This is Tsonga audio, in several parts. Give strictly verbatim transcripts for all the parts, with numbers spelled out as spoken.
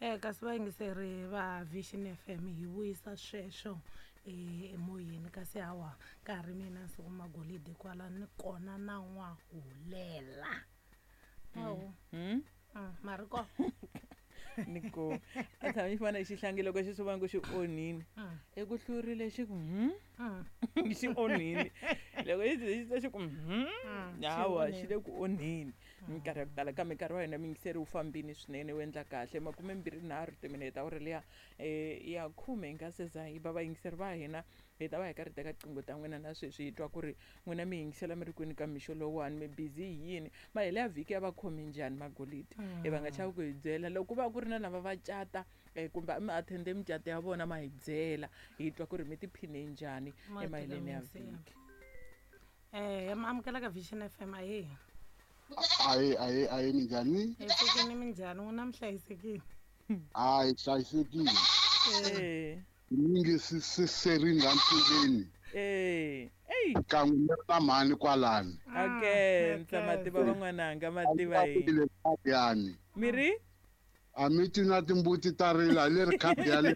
Eh kasi vayingiseri va Vision F M hi vuyisa sweswo emoyeni kasi hawa nkarhi mina siku magolidi kwala ni kona na n'wahulela. Awu. Mm. Mari ko. Ni ko. A tshama xi fana xihlangi loko xi swi vona ku xi onhile. Eku hlurile xi ku hmm. Xi onhile. Loko xi xi xi ku hmm. Hawa xi le ku onheni. Minkarhi ya ku tala kambe nkarhi wa hina miyingiseri wu fambile swinene wu endla kahle makume mbirhi nharhu timinete awara liya ya khume hi nga se za hi ba vayingiseri va hina hi ta va hi karhi teka tinqingho ta n'wina na sweswi hi twa ku ri n'wina mi yingisela mi ri kwini ka mixo lowuwani mi busy hi yini mahele ya vhiki ya va khomi njhani magolidi hi va nga chavi ku hi byela loko ku va ku ri na lava va cata kumbe mi attende micato ya vona ma hi byela hi twa ku ri mi tiphine njhani emaheleni ya vhiki. Eh amukela ka Vision F M ahe. Ahe ahe ahe minjhani? Hi pfukile minjhani n'wina mi hlayisekile? Hayi hlayisekile. Eh. Mingi serini la ntsungeni. Eh. Ey. Kan'we ni ri na mhani kwalani. Okay, ndza mativa van'wananga mativa yini. Yani. Miri? A mi twi na timbuti ta rila hi leri khadi ya le.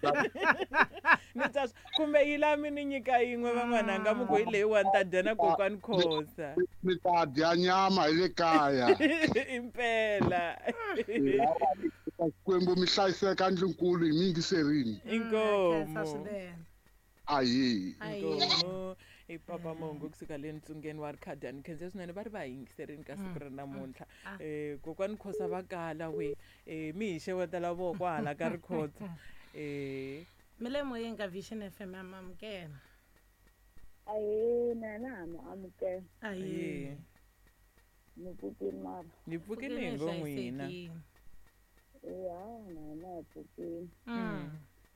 Ni ta kumbe yi la mi ni nyika yin'we van'wananga mi ku hi leyiwani ta dya na kokwani Khosa. Mi ta dya nyama hi le kaya. Impela. Xikwembu mi hlayiseka ndlunkulu hi mi yingiserini. Inkomu. Ahi. Inkomu. I papa Mongo kusuka le ntsungeni wa Rikhadani khensa swinene va ri va yingiserini ka siku ra namuntlha. Eh kokwani Khosa va kala we eh mi hi xewetela voko hala ka Rikhotso. Eh mi le moyeni ka Vision F M amukela. Ahe na na mu amukela. Ahe. Ni pfukile mara. Ni pfukile hi ngo n'wina. Ya na na pfukile.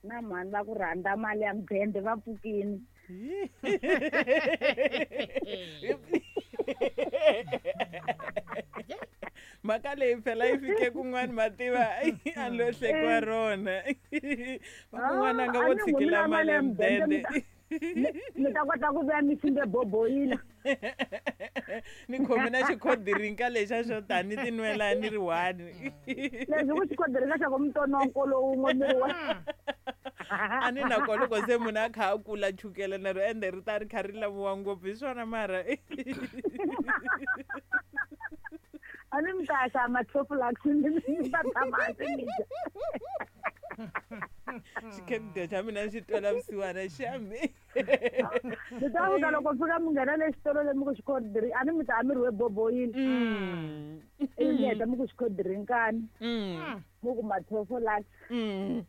Na mhani va ku rhandza mali ya mudende va pfukile. Mhaka leyi phela yi fike kun'wana mativa a lo hlekiwa rona. Va kun'wana nga vo tshikela mali ya mudende. Mi ta kota ku vuya mi simbe boboyila. Ni khome na xikhodirinka lexa xo tani ti nwela ni ri one. Leswi ku xikhodirinka xa ku mitononkolo wun'we mi ri one. A ni na kona loko se munhu a kha a kula chukele na ro ende ri ta ri kha ri laviwa ngopfu hi swona mara. A ni mi ta ya xava ma-Toflux mi ta tshama hansi mi dya. Xikhekudya xa mina xi twela vusiwana xa mi. Mi ta fika loko fika mi nghena le xitolo le mi ku xikhodirinka a ni mi ta mi ri we boboyila. Ivi mi heta mi ku xikhodiриnkani. Mi ku ma-Toflux.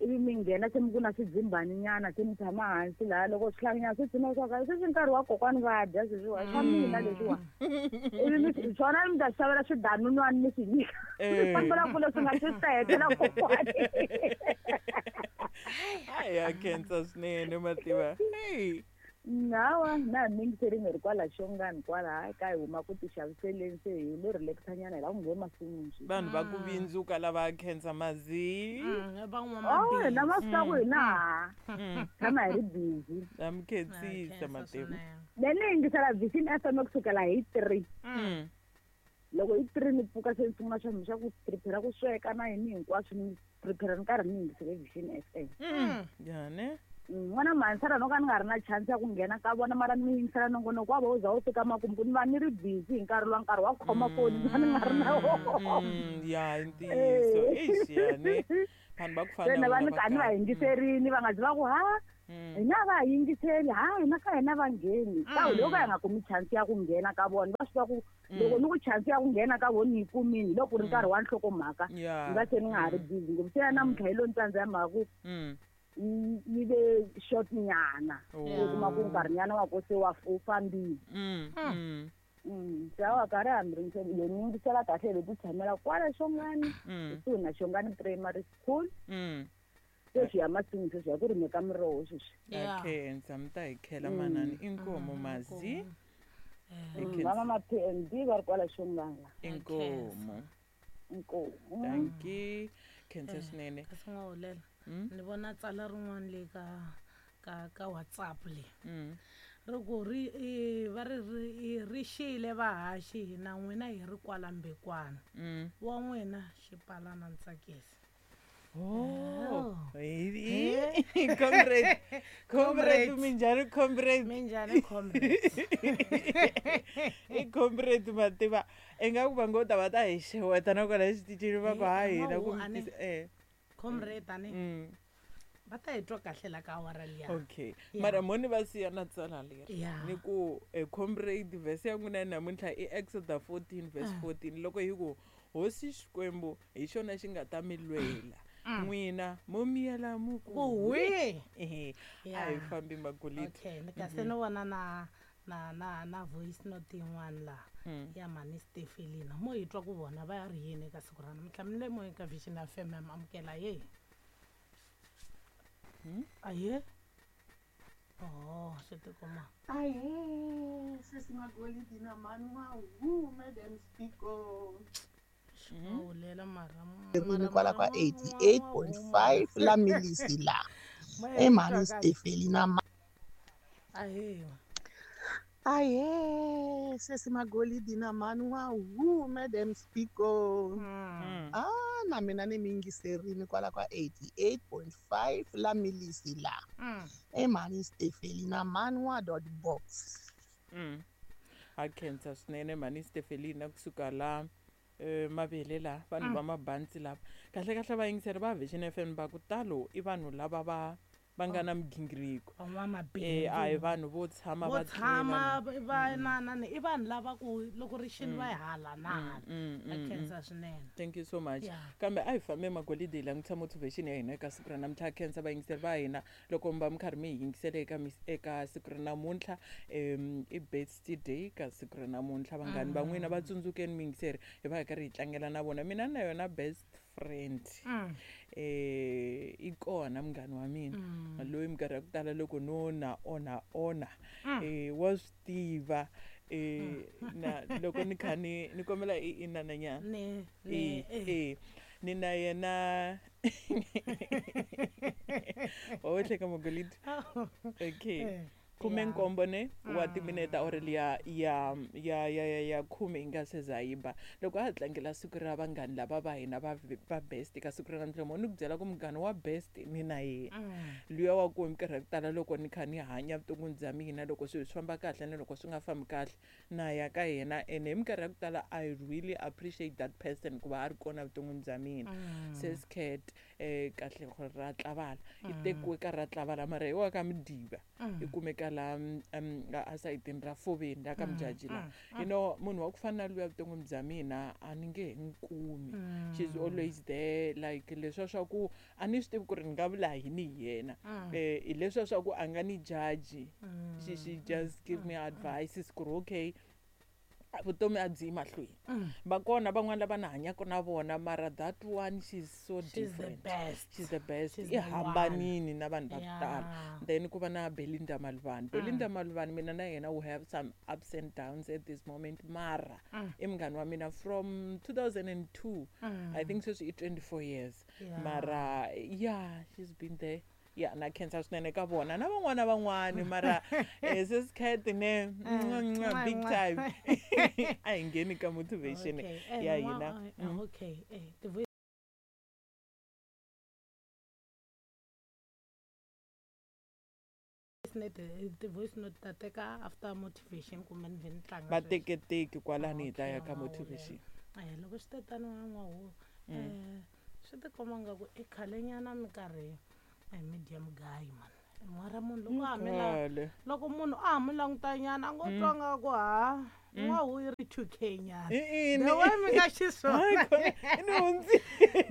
Ivi mi nghena se mi ku na swidzimbaninyana se mi tshama hansi laha loko swihlanganyana swi tshama swa ka sweswi nkarhi wa kokwani va dya sweswiwa swa mina leswiwa. Ivi mi swona mi ta xavela swidanunwani mi swi nyika. Mi fambela kule swi nga swi ta hetela kokwani. Hayi ya khensa swinene mativa. Hey. Hawa na hi mingiserini hi ri kwala Xongani kwala ka hi huma ku tixaviseleni se hi lo relaxanyana hi la ku nghena masin'wini sweswi. Vanhu va ku vindzuka lava khensa mazi. Oh hina ma swi tiva ku hina ha tshama hi ri busy. Na mi khensisa mativa. Be ni yingisela Vision F M kusukela hi three. Loko hi three ni pfuka se ni sungula swa mina swa ku prepare ku sweka na yini hinkwaswo ni prepare ni karhi ni yingisele Vision F M. Njhani? N'wana mhanisana no ka ni nga ri na chance ya ku nghena ka vona mara ni yingisela nongonoko wa vona wu za wu fika makumu ku ni va ni ri busy hi nkarhi lowa nkarhi wa khoma foni ni va ni nga ri na wona. Ya i ntiyiso eish yani vanhu va ku fana na va ni ka ni va yingiserini va nga zi va ku ha hina va ha yingiseli ha hina ka hina va ngheni ka loko ka hi nga kumi chance ya ku nghena ka vona va swi tiva ku loko ni ku chance ya ku nghena ka vona yi kumini loko ku ri nkarhi wa nhlokomhaka ni va se ni nga ha ri busy ngopfu se ya namuntlha hi lo ni tsandza ya mhaka ku yi ve short nyana u kuma ku nkarhinyana wa ko se wa wu fambile. Se awa karhi hambi ri yo ni yingisela kahle hi ti tshamela kwala Xongani kusuhi na Xongani Primary School. Sweswi ya masin'wini sweswi ya ku rimeka miroho sweswi. Ya khensa mi ta hi khela manani inkomo mazi. Mama ma P M D va ri kwala Xongani la. Inkomo. Inkomo. Dankie. Khensa swinene. Kasi n'wa hulela. Ni vona tsala rin'wana le ka ka ka WhatsApp le. Ri ku ri va ri ri xile vahaxi hina n'wina hi ri kwala Mbekwana. Wa n'wina Xipalana Ntsakisi. Oh, comrade, comrade, minjhani comrade, minjhani comrade, i comrade mativa ingaku va ngo ta va ta hi xeweta nakona xitichini va ku ha hina ku eh comrade ani va ta hi twa kahle la ka awara liya. Okay, mara moni va siya na tsala leri ni ku comrade verse ya n'wina namuntlha i Exodus fourteen verse fourteen loko hi ku hosi Xikwembu hi xona xi nga ta mi lwela n'wina mo miyela mu ku hwi eh a hi fambi magolidi. Okay, ni kasi ni vona na na na na voice note yin'wana la ya mani Stefelina mo hi twa ku vona va ri yini eka siku ra namuntlha. Mi le moyeni ka Vision F M amukela ye aye oh swi tikuma aye sesi Magolidi na mani wa hu madam Speaker hulela mara rini kwala ka eighty-eight point five la milisi la e mani Stefelina aye aye sesi Magolidi na mani wa hu madam Speaker ah na mina ni mingiserini kwala ka eighty-eight point five la milisi la e mani Stefelina mani wa dot box. Mm a khensa swinene mani Stefelina kusuka la mavele la vanhu va mabantsi lava kahle kahle va yingiseri va Vision F M va ku talo i vanhu lava va va nga na migingiriko eh a hi vanhu vo tshama va tshama va na na i vanhu lava ku loko ri xini va hala na hala. A khensa swinene, thank you so much. Kambe a hi fambe Magolidi hi langutisa motivation ya hina eka siku ra namuntlha. Khensa vayingiseri va hina loko mi va mi karhi mi hi yingisele eka eka siku ra namuntlha um i best day ka siku ra namuntlha. Vanghani va n'wina va tsundzukeni miyingiseri hi va hi karhi hi tlangela na vona. Mina na yona best friend eh i kona munghana wa mina loyi minkarhi ya ku tala loko no na ona ona eh wa swi tiva eh na loko ni kha ni ni kombela i inananyana ni ni eh ni na yena wa hleka Magolidi. Okay, khume nkombo ne wa timinete Aurelia ya ya ya ya ya khume yi nga se za yi ba loko a tlangela siku ra vanghani lava va hina va va best ka siku ra namuntlha. Mo ni ku byela ku munghana wa best ni na yena luya wa ku minkarhi ya ku tala loko ni kha ni hanya vuton'wini bya mina loko swilo swi famba kahle na loko swi nga fambi kahle na ya ka yena ene hi minkarhi ya ku tala I really appreciate that person ku va a ri kona vuton'wini bya mina. Sis Cat eh kahle gore ra tlavala i tekiwe ka ra tlavala mara hi wa ka Midiba i kumeka la um a sayitini ra Foveni la ka Mjaji la you know munhu wa ku fana na luya vuton'wini bya mina a ni nge he n'wi kumi. She's always there like leswiya swa ku a ni swi tivi ku ri ni nga vula yini hi yena eh hi leswiya swa ku a nga ni judge she she just give me advice ku ri okay vutomi a byi yi mahlweni. Va kona van'wana lava na hanyaka na vona mara that one she's so she's different the best. She's the best. She's i hambanini na vanhu va ku tala. Then ku va na Belinda Malvani. Belinda Malvani mina na yena we have some ups and downs at this moment mara i munghana wa mina from two thousand and two I think sweswi i twenty-four years mara yeah she's been there. Yeah, na khensa swinene ka vona na van'wana van'wani mara eh sis Cat ne big time a hi ngheni ka motivation ya hina. Okay, eh the voice note the voice note ta teka after motivation kumbe ni vhe ni tlanga va teketeki kwalani hi ta ya ka motivation. Eh loko swi tetano n'wahu eh swi tikomba nga ku i khalenyana minkarhi a medium guy man mara munhu loko a hamela loko munhu a ha mu langutanyana a ngo twa nga ku ha n'wahu yi ri two K nyana the way mi nga xiswona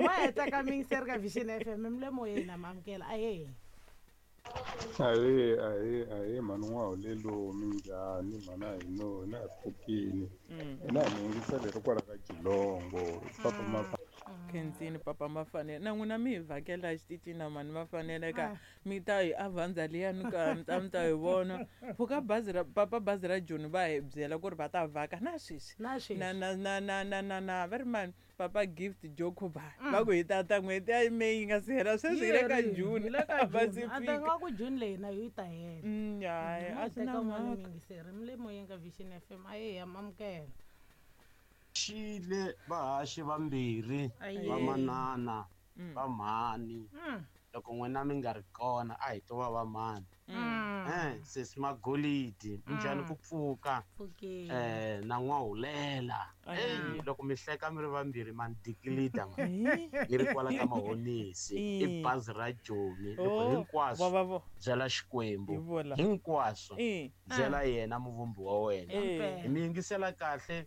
ma heta ka miyingiseri ka Vision F M mi le moyeni na mamukela aye aye aye aye mani n'wahulelo minjhani mhana hino hina hi pfukini hina hi miyingiseri ri kwala ka Jilongo papa ma Khensini papa Mafanele na n'wina mi hi vhakela xitichini na mani Mafanele ka mi ta hi Avanza liyani ka mi ta mi ta hi vona pfuka bazi ra papa bazi ra Joni va hi byela ku ri va ta vhaka na sweswi na na na na na na na va ri mani papa Gift Jokuba va ku hi tata n'hweti ya May yi nga si hela sweswi hi le ka June va si fika nga ku June leyi na yo yi ta hela. Hayi a swi na mhaka miyingiseri mi le moyeni ka Vision F M aye ya mamukela xile vahaxi vambirhi va manana Va mhani. Loko n'wina mi nga ri kona a hi to va va mani. Eh sesi Magolidi minjhani ku pfuka eh na N'wahulela. Eh loko mi hleka mi ri vambirhi ma ni dikilida ma ni ri kwala ka Mahonisi i bazi ra Joni loko hinkwaswo byela Xikwembu hinkwaswo byela yena muvumbi wa wena. Hi mi yingisela kahle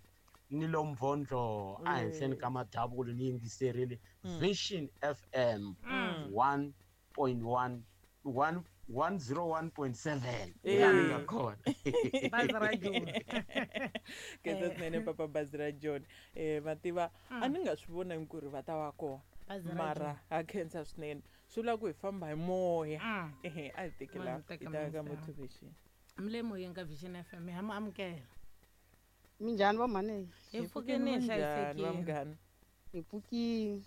ni lo Mvondlo a henhleni ka madavulu ni yingiserile Vision F M one point one one one zero one point seven. Yeah, kona. Bazi ra John. Ke tsene papa bazi ra John. Eh mativa a ni nga swi vona ku ri va ta va kona. Mara a khensa swinene. Swi vula ku hi famba hi moya. Eh a hi tekela hi ta ka motivation. Mle moyeni ka Vision F M ha mu amukela. Minjhani va mhani? Hi pfukeni hi hlayisekile. Hi pfukile.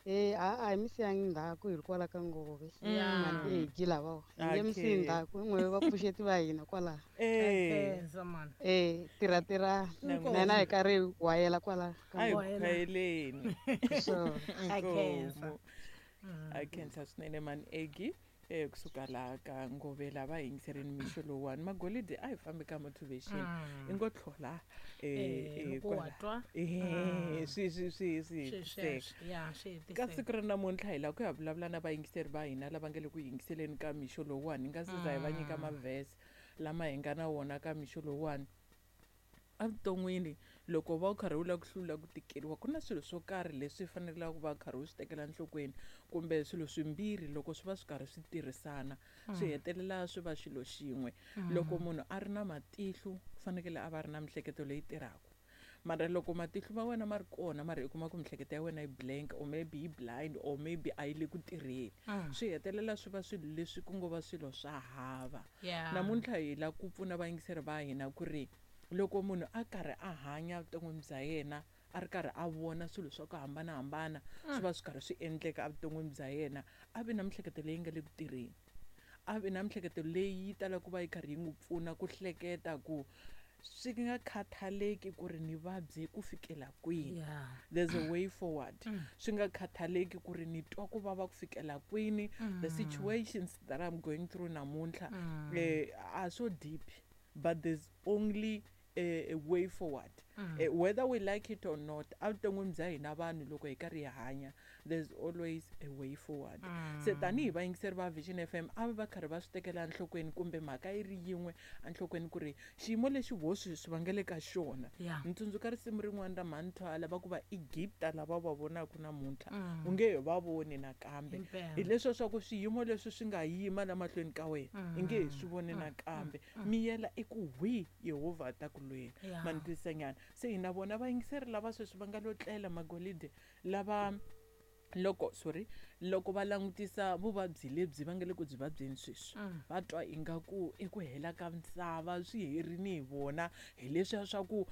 Eh a a hi mi siyangi ndzhaku hi ri kwala ka Ngove. Mhani e hi lava. Hi nge mi siyi ndzhaku n'we vapfuxeti va hina kwala. Eh eh tirha tirha na hina hi karhi hi wayela kwala ka Ngove. Wayeleni. So a khensa. A khensa swinene mani Egi. Eh kusuka la ka Ngove lava yingiserini mixo lowuwani Magolidi a hi fambi ka motivation i ngo tlhola eh eh swi swi swi swi ka siku ra namuntlha hi lava ku ya vulavula na vayingiseri va hina lava nga le ku yingiseleni ka mixo lowuwani hi nga se za hi va nyika mavhesi lama hi nga na wona ka mixo lowuwani. Evuton'wini loko va u karhi u lava ku hlula ku tikeriwa ku na swilo swo karhi leswi fanelaka ku va karhi u swi tekela enhlokweni kumbe swilo swimbirhi loko swi va swi karhi swi tirhisana swi hetelela swi va xilo xin'we. Loko munhu a ri na matihlo u fanekele a va ri na miehleketo leyi tirhaka. Mara loko matihlo ma wena ma ri kona mara i kuma ku miehleketo ya wena yi blank or maybe yi blind or maybe a yi le ku tirheni swi hetelela swi va swilo leswi ku ngo va swilo swa hava. Namuntlha hi lava ku pfuna vayingiseri va hina ku ri loko munhu a karhi a hanya vuton'wini bya yena a ri karhi a vona swilo swa ku hambanahambana swi va swi karhi swi endleka evuton'wini bya yena a vi na miehleketo leyi nga le ku tirheni, a vi na miehleketo leyi yi talaka ku va yi karhi yi n'wi pfuna ku hleketa ku swi nga khathaleki ku ri ni vabye ku fikela kwini, there's a way forward. Swi nga khathaleki ku ri ni twa ku vava ku fikela kwini, the situations that I'm going through namuntlha eh, are so deep, but there's only a, a way forward. Mm. Uh, whether we like it or not, evuton'wini bya hina vanhu loko hi karhi hi hanya, there's always a way forward. Se tanihi vayingiseri va Vision F M a va karhi va swi tekela enhlokweni kumbe mhaka yi ri yin'we enhlokweni ku ri xiyimo lexi vo swi va nga le ka xona. Ni tsundzuka risimu rin'wana ra Mhani lava ku va Egipta lava va vonaka namuntlha u nge he va voni nakambe. Hi leswo swa ku swiyimo leswi swi nga yima la mahlweni ka wena i nge he swi voni nakambe. Miyela i ku hwi Yehovha ta ku lwela. Ma ni twisisa nyana. Se hina vona vayingiseri lava sweswi va nga lo tlela Magolide lava loko sorry loko va langutisa vuvabyi lebyi va nga le ku byi vabyeni sweswi va twa ingaku eku hela ka misava swi herini hi vona hi leswiya swa ku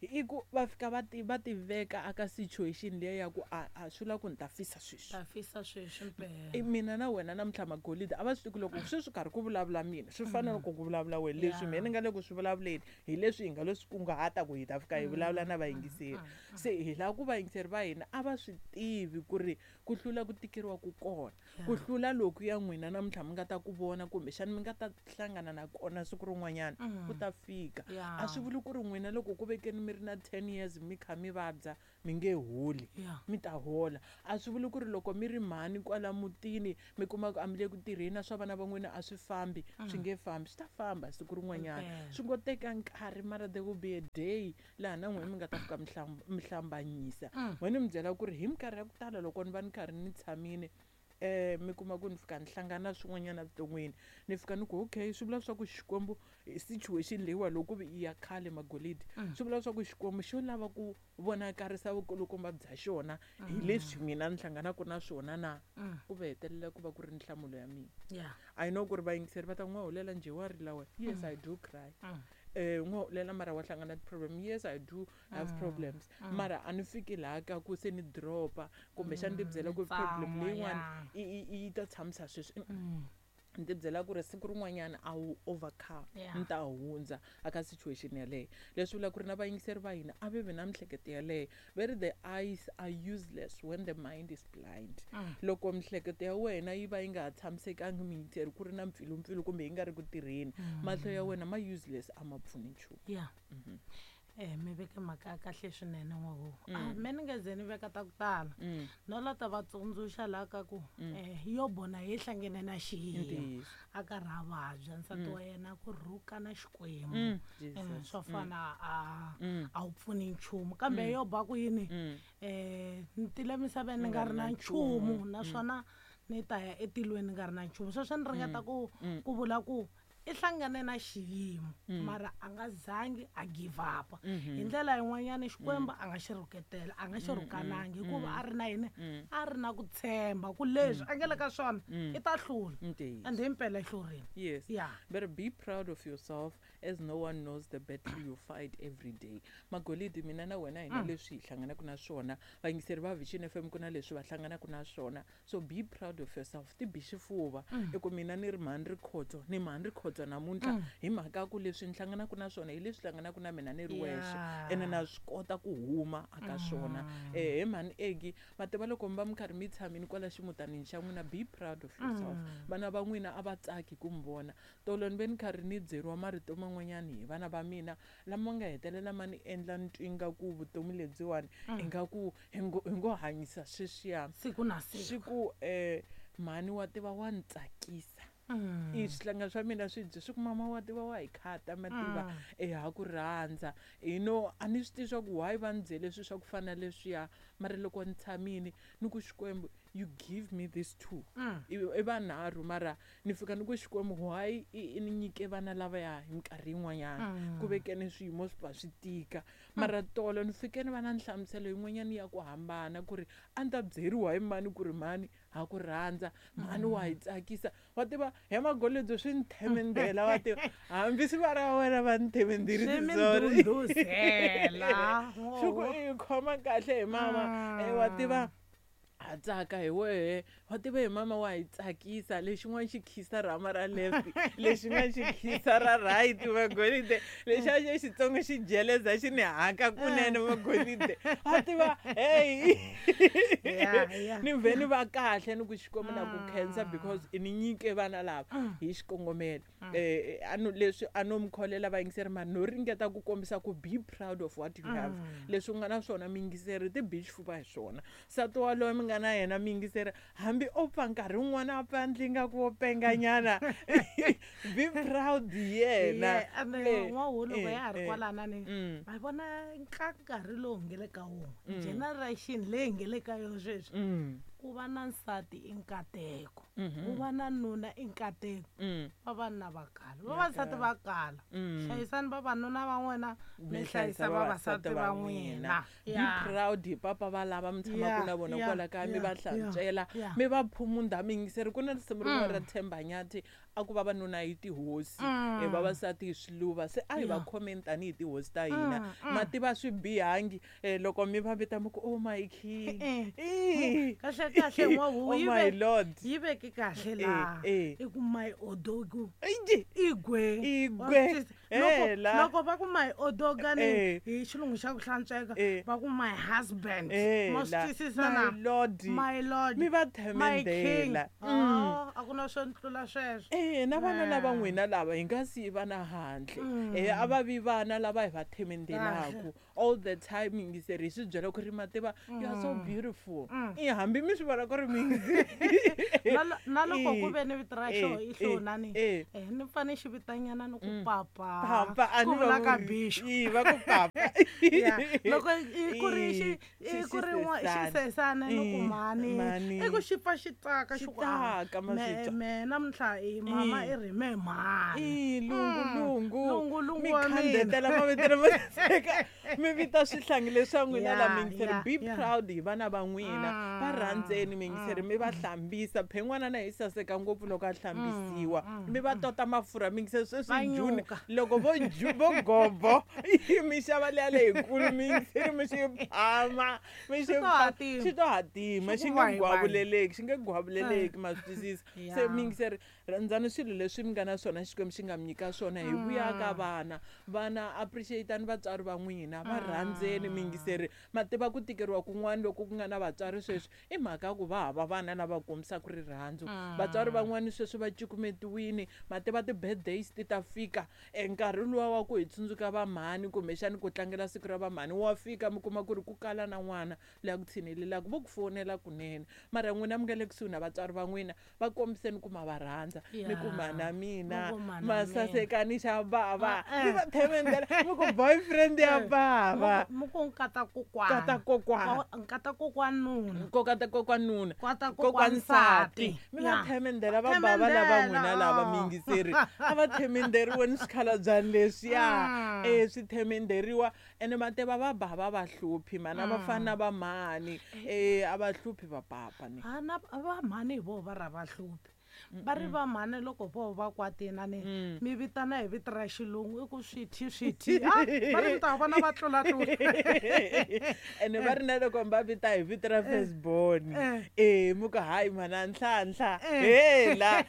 i ku va fika va ti va tiveka aka situation leyi ya ku a a swi lava ku ni ta fisa sweswi ta fisa sweswi mpela. Mina na wena namuntlha Magolide a va swi tivi loko sweswi karhi ku vulavula mina swi fana loko ku vulavula wena leswi mina ni nga le ku swi vulavuleni hi leswi hi nga lo swi kunguhata ku hi ta fika hi vulavula na vayingiseri. Se hi lava ku vayingiseri va hina a va swi tivi ku ri ku hlula ku tikeriwa ku kona, ku hlula loku ya n'wina namuntlha mi nga ta ku vona kumbexana mi nga ta hlangana na kona siku rin'wanyana ku ta fika. A swi vuli ku ri n'wina loko ku vekeni mi ri na ten years mi kha mi vabya mi nge holi, mi ta hola. A swi vuli ku ri loko mi ri mhani kwala mutini mi kuma ku a mi le ku tirheni na swa vana va n'wina a swi fambi, swi nge fambi, swi ta famba siku rin'wanyana. Swi ngo teka nkarhi mara there will be a day laha na n'wina mi nga ta fika mi hlambanyisa. N'wina mi byela ku ri hi minkarhi ya ku tala loko ni va ni karhi ni tshamile eh mi kuma ku ni fika ni hlangana swin'wanyana evuton'wini ni fika ni ku okay swi vula swa ku Xikwembu situation leyiwa loko ku i ya khale Magolidi swi vula swa ku Xikwembu xo lava ku vonakarisa vukulukumba bya xona hi leswi mina ni hlanganaka na swona na ku va hetelela ku va ku ri nhlamulo ya mina. I know ku ri vayingiseri va ta n'wa hulela njhe wa rila wena. Yes, I do cry. Eh n'wa hulela mara wa hlangana ti-problem. Yes, I do have problems. Mara a ni fiki laha ka ku se ni dropa kumbexana ni byela ku problem leyin'wana yi ta tshamisa sweswi. Ni ti byela ku ri siku rin'wanyana a wu overcome Yeah. ni ta hundza aka situation yaleyo. Leswi vula ku ri na vayingiseri va hina a ve vi na mihleketo yaleyo. Ve ri the eyes are useless when the mind is blind. Loko mihleketo ya wena yi va yi nga ha tshamisekangi miyingiseri ku ri na mpfilumpfilu kumbe yi nga ri ku tirheni, mahlo ya wena ma useless, a ma pfuni nchumu. Ya, eh mi veke mhaka ya kahle swinene n'waho. A me ni nge ze ni veka ta ku tala, no la ta va tsundzuxa laha ka ku eh Yobo na ye hlangene na xiyimo Ntiyiso. a karhi a vabya, nsati wa yena ku rhuka na Xikwembu. Mm, Eh, Jesus. swo fana a a wu pfuni nchumu, kambe Yobo a ku yini? eh ni tile misaveni ni nga ri na nchumu, naswona ni ta ya etilweni ni nga ri na nchumu. Sweswo ni ringeta ku ku vula ku i hlangane na xiyimo, mara a nga zangi a give up. Hi ndlela yin'wanyana Xikwembu a nga xi rhuketela, a nga xi rhukanangi, hikuva a ri na yini? A ri na ku tshemba ku leswi a nga le ka swona i ta hlula. Ntiyiso. And himpela i hlurile. Yes. Yeah. But be proud of yourself, as no one knows the battle you fight every day. Magolidi, mina na wena hina leswi hi hlanganaka na swona, vayingiseri va Vision F M ku na leswi va hlanganaka na swona. So be proud of yourself. Ti bi xifuva. I ku mina ni ri mhani Rikhotso, ni mhani Rikhotso namuntlha hi mhaka ku leswi ni hlanganaka na swona hi leswi hlanganaka na mina ni ri wexe. Yeah. Ene na swi kota ku huma aka swona. Eh, he mhani Egi, ma tiva loko mi va mi karhi mi tshamile kwala ximutanini xa n'wina, be proud of yourself. Vana va n'wina a va tsaki ku mi vona. Tolo ni ve ni karhi ni byeriwa marito man'wanyani hi vana va mina lama nga hetelela ma ni endla ni twa ingaku vutomi lebyiwani ingaku hi ngo, hi ngo hanyisa sweswiya. Siku na siku. Swi ku, eh, mhani wa tiva wa ni tsakisa. I swihlanga swa mina swi byi swi ku mama wa tiva wa hi khata, ma tiva, eh, ha ku rhandza. You know, a ni swi tivi swa ku why va ni byele swilo swa ku fana na leswiya, mara loko ni tshamile ni ku Xikwembu, you give me this two. I, i vanharhu, mara ni fika ni ku Xikwembu, why i, i ni nyike vana lavaya hi minkarhi yin'wanyana? Ku vekeni swiyimo swi va swi tika. Mara tolo ni fike ni va na nhlamuselo yin'wanyana ya ku hambana, ku ri a ni ta byeriwa hi mani ku ri mhani ha ku rhandza, mhani wa hi tsakisa. Wa tiva, he Magolidi swi ni themendela, wa tiva, hambi swi va ra wena va ni themenderi Swi mi sorry. ndhundhuzela. Swi ku i khoma kahle hi mama. Eh, wa tiva, ha tsaka hi wehe, wa tiva hi mama wa hi tsakisa. Lexin'wana xi khisa rhama ra left, lexin'wana xi khisa ra right, Magolide. Lexiya xa xitsongo xi jeleza xi ni haka kunene, Magolide. Wa tiva, hey. Yeah, yeah. Ni vhe ni va kahle ni ku Xikwembu na ku khensa because i ni nyike vana lava hi xikongomelo. Eh, a no, leswi a no mi kholela vayingiseri, mara no ringeta ku kombisa ku be proud of what you have. Leswi u nga na swona miyingiseri, ti bi xifuva hi swona. Nsati waloye mi nga na yena miyingiseri, hambi o pfa nkarhi wun'wana a pfa ndli nga ku wo penganyana, be proud hi yena. Yeah, and then Eh, n'wahu loko eh, ya ha ri eh. kwalana ni, Mm. ma vona ka nkarhi lowu hi nge le ka wona, generation leyi hi nge le ka yona sweswi, Mm. ku va na nsati i nkateko, ku va na nuna i nkateko. Mm. Vavanuna va kala, vavasati va kala. Mm. Hlayisani vavanuna va n'wina, mi Mi hlayisa hlayisa vavasati vavasati va va n'wina. n'wina. Be Yeah. proud hi papa va lava mi tshamaka Yeah, na vona yeah, kwala kaya, mi yeah, va hlantswela, yeah, yeah. mi va phumunda miyingiseri. Ku na risimu rin'wana ra Themba Nyathi a ku vavanuna hi tihosi, eh, vavasati hi swiluva. Se a hi va Yeah. khomeni tanihi tihosi ta hina. Ma tiva swi bihangi, eh, loko mi va vita mi ku, oh my king. Eh, Ih. Kahle kahle n'wahu, Oh yi my ve- lord. yi veke kahle laha. eh. I ku my odogu. Ije. Igwe. Igwe. Wa swi twisisa? Loko, Hela. loko va ku my odoga ni Eh. hi xilungu xa ku hlantsweka, Eh. va ku my husband. Eh, Ma swi la. twisisa My na? lord. My lord. Mi va My king. themendela. Mm. Ah, a ku na swo tlula sweswo. Eh, na vana lava Eh. n'wina lava hi nga siyi vana handle. Eh, a va vi vana lava hi va themendelaku all the time. Yingiseri hi swi byela ku ri ma tiva, you are so beautiful. I hambi mi swi vona ku ri mi yingiseri. Na lo-, na loko ku Eh, ve ni vito ra eh, xo i eh, hlonani, eh. eh, ni fane xi vitanyana ni ku papa. Papa, a Ku ni va vula ka vuri. bixo. Ii, va ku papa. Yeah. Loko i ku ri xi, Ii, i ku ri n'wa- xisesana. xisesana ni ku Ii, mhani. mhani. I ku xi pfa xi tsaka, Xi xi ku, ah, tsaka, ma swi me, twa. me, namuntlha i mama Ii. i ri me mhani. Ii, lungu, Mm. lungu. Lungu, lungu Mi wa mina. khandzetela mavito lama saseka. Mi Mi vita swihlangi leswa n'wina la miyingiseri, be proud hi vana va n'wina, va rhandzeni miyingiseri, mi va hlambisa. Phen'wana na hi saseka ngopfu loko a hlambisiwa, mi va tota mafurha miyingiseri. Sweswi June loko vo vo gobo mi xava leya leyikulu miyingiseri, mi xi phama mi xi xi to hatima, xi nge gwavuleleki, xi nge gwavuleleki, ma swi twisisa. Se miyingiseri, rhandzani swilo leswi mi nga na swona, Xikwembu xi nga mi nyika swona. Hi vuya ka vana, vana appreciate-ani vatswari va n'wina, va rhandzeni miyingiseri. Ma tiva ku tikeriwa kun'wana loko ku nga na vatswari sweswi i mhaka ya ku va hava vana lava kombisaka rirhandzu. Vatswari van'wani sweswi va cukumetiwini, ma tiva ti-birthdays ti ta fika, nkarhi luwa wa ku hi tsundzuka vamhani kumbexani ku tlangela siku ra vamhani wa fika, mi kuma ku ri ku kala na n'wana loyi a ku tshinelelaka, vo ku fonela kunene. Mara n'wina mi nga le kusuhi na vatswari va n'wina, va kombiseni ku ma va rhandza, mi ku mhana mina masasekani xa bava, mi va themendela, mi ku boyfriend ya bava, mi ku nkata kokwana, nkata kokwana, nkata kokwanuna, nkata kokwanuna, nkata kokwansati, mi va themendela va bava lava n'wina lava miyingiseri. A va themenderiweni swikhalabya leswiya, eh swi themenderiwa. Ene ma tiva va bava va hluphi mana, va fana na va mhani, eh a va hluphi va papa ni na va mhani hi voho va ra va hluphi. Va ri va mhani loko vo va kwatini ni mi vitana hi vito ra xilungu i ku swithi swithi, va ri mi ta vona va tlula tlula. Ene va ri na loko va vita hi vito ra firstborn, eh mi ku hayi mhana Nhlanhla, hela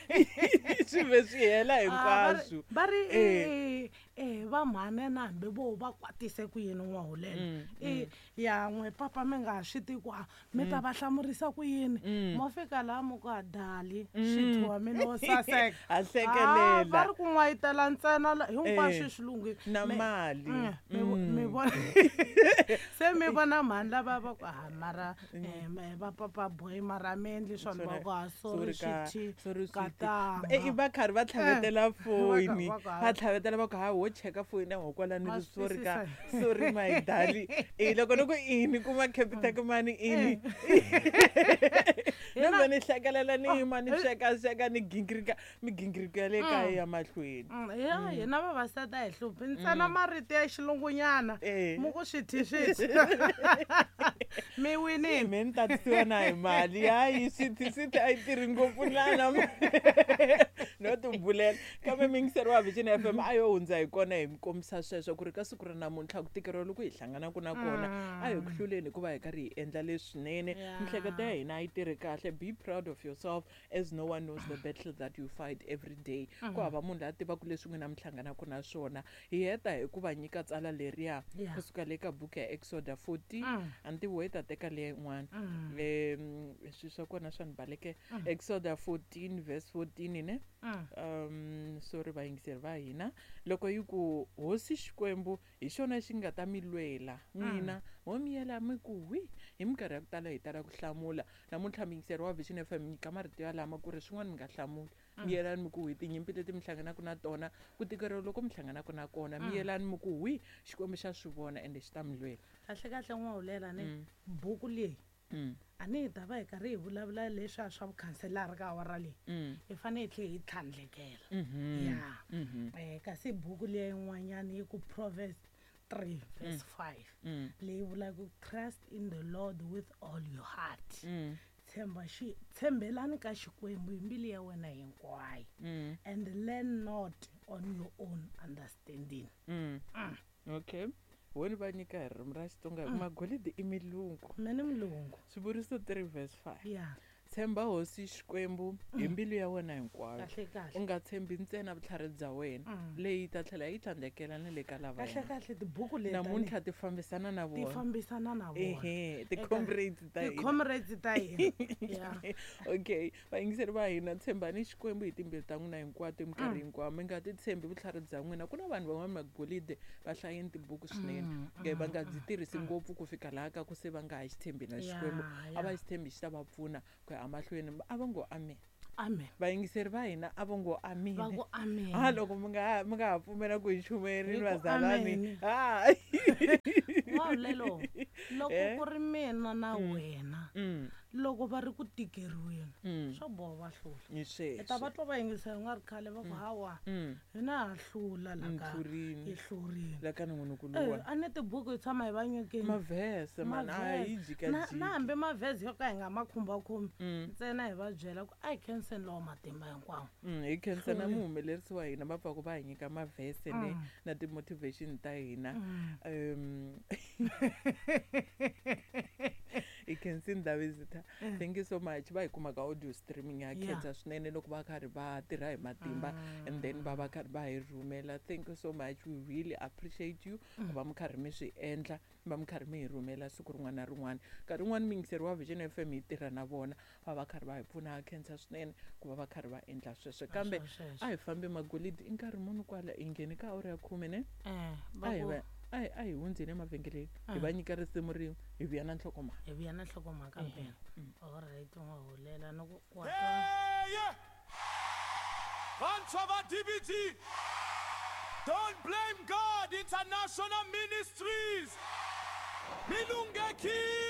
swi ve swi hela hinkwaswo. Va ri eh va mhani na hambi vo va kwatise ku yini N'wahulela, i ya n'we papa mi nga swi tivi ku mi ta va hlamurisa ku yini, mo fika laha mi ku a dali swithi wa mina wo saseka, a hlekelela, va ri ku n'wayitela ntsena hinkwaswo xilungu na mali mi vona. Se mi vona mhani lava va ku ha mara va papa boy mara mi endli swona, va ku ha sorry swithi katanga, i va karhi va tlhavetela foyini, va tlhavetela va ku ha wo cheka foyini ya hokwalani ri sorry ka sorry my darling, eh loko ni ku ini kuma Capitec mani ini no ni hlekelela ni yima ni sweka sweka ni gingirika migingiriko ya le kaya ya mahlweni. Ya hina vavasati a hi hluphi ntsena marito ya xilungunyana mu ku swithi swithi mi winile, me ni tatisiwa na hi mali hayi swithi swithi a yi tirhi ngopfu lana no tibulela. Kambe miyingiseri wa Vision F M a yo hundza hi kona hi mi kombisa sweswo ku ri ka siku ra namuntlha ku tikeriwa loko hi hlanganaka na kona a hi ku hluleni hikuva hi karhi hi endla leswinene. Mihleketo ya hina a yi tirhi kahle. Be proud of yourself as no one knows the battle that you fight every day. Ku hava munhu loyi a tivaka leswi n'wina mi hlanganaka na swona. Hi heta hi ku va nyika tsala leriya kusuka le ka buku ya Exoda fourteen, a ni tivi wo yi ta teka leya yin'wana, swilo swa kona swa ni balekela. Exoda fourteen verse fourteen ne, um sorry vayingiseri va hina, loko yi ku hosi Xikwembu hi xona xi nga ta mi lwela n'wina, ho miyela mi ku hwi. Hi minkarhi ya ku tala hi tala ku hlamula. Namuntlha miyingiseri wa Vision F M nyika marito yalama ku ri swin'wana mi nga hlamuli, miyelani mi ku hwi tinyimpi leti mi hlanganaka na tona, ku tikeriwa loko mi hlanganaka na kona, miyelani mi ku hwi, Xikwembu xa swi vona ende xi ta mi lwela. Kahle kahle N'wahulela ni buku leyi a ni hi ta va hi karhi hi vulavula leswiya swa vukhanselara ka awara leyi, hi fanele hi tlhela hi tlhandlekela ya. Kasi buku leyi yin'wanyana yi ku Proverbs three verse five leyi vulaka trust in the Lord with all your heart, tshemba xi tshembelani ka Xikwembu hi mbilu ya wena hinkwayo, and lean not on your own understanding. Okay, wona va nyika hi ririmi ra Xitsonga hi ku magolidi i milungu, mina ni mulungu. Swivuriso three verse five, ya tshemba hosi Xikwembu hi mbilu ya wena hinkwayo, u nga tshembi ntsena vutlhari bya wena, leyi ta tlhela yi tlhandlekela na le ka lava. Kahle kahle tibuku leti namuntlha ti fambisana na vona, ti fambisana na vona, ehe ti-comrades ta hina, ti-comrades ta hina. Okay, vayingiseri va hina, tshembani Xikwembu hi timbilu ta n'wina hinkwato minkarhi hinkwayo, mi nga ti tshembi vutlhari bya n'wina. Ku na vanhu van'wana magolide va hlayeni tibuku swinene, va nga byi tirhisi ngopfu ku fika laha ka ku se va nga ha xi tshembi na Xikwembu, a va xi tshembi xi ta va pfuna ku ya amahlweni. A va ngo amen. Amen. Vayingiseri va hina a va ngo amen. Va ku amen. Ha loko mi nga mi nga ha pfumela ku hi chumayerini vazalani. Ha. N'wahulela, loko ku ri mina na wena, Loko va ri ku tikeriweni Mm. swa boha va hlula. Hi Hi ta va sweswo. twa va yingisela ku nga ri khale va ku hawa Mm. hina ha hlula la Ni ka hlurini. hi hlurini. La ka nongonoko Eh, luwa. a ni tibuku hi tshama hi va nyikeni. Mavhese man a hi Mavhese. Na na jikajiki. hambi mavhese yo ka hi nga ma khumbakhumbi Mm. ntsena hi va byela ku a hi khenseni lowa matimba hinkwawo. Mm, hi khensa na Hlurini. muhumelerisi wa hina va pfaku va hi nyika mavhese ne Mm. na ti-motivation ta hina. Mm. Um hi khensini Davisita. Eh. Thank you so much. Va hi kuma ka audio streaming ya Yeah. khensa swinene loko va karhi va tirha hi matimba and then va va karhi va hi rhumela. Thank you so much. We really appreciate you ku va mi karhi mi swi endla, va mi karhi mi hi rhumela siku rin'wana na rin'wana. Nkarhi wun'wani muyingiseri wa Vision F M hi tirha na vona va va karhi va hi pfuna. Ha khensa swinene ku va va karhi va endla sweswo. Kambe Sweswo. a hi fambi magolidi i nkarhi muni kwala hi nghene ka awara ya khume ne? Eh, va A hi ku va a hi a hi hundzeni emavhengeleni hi Ah. va nyika risimu rin'we hi vuya na nhlokomhaka. Hi vuya na nhlokomhaka Ehe. mpela. Mm. Alright n'wa hulela ni ku wa twa. Hey! Vantshwa va D B T, don't blame God International Ministries. Milungeki.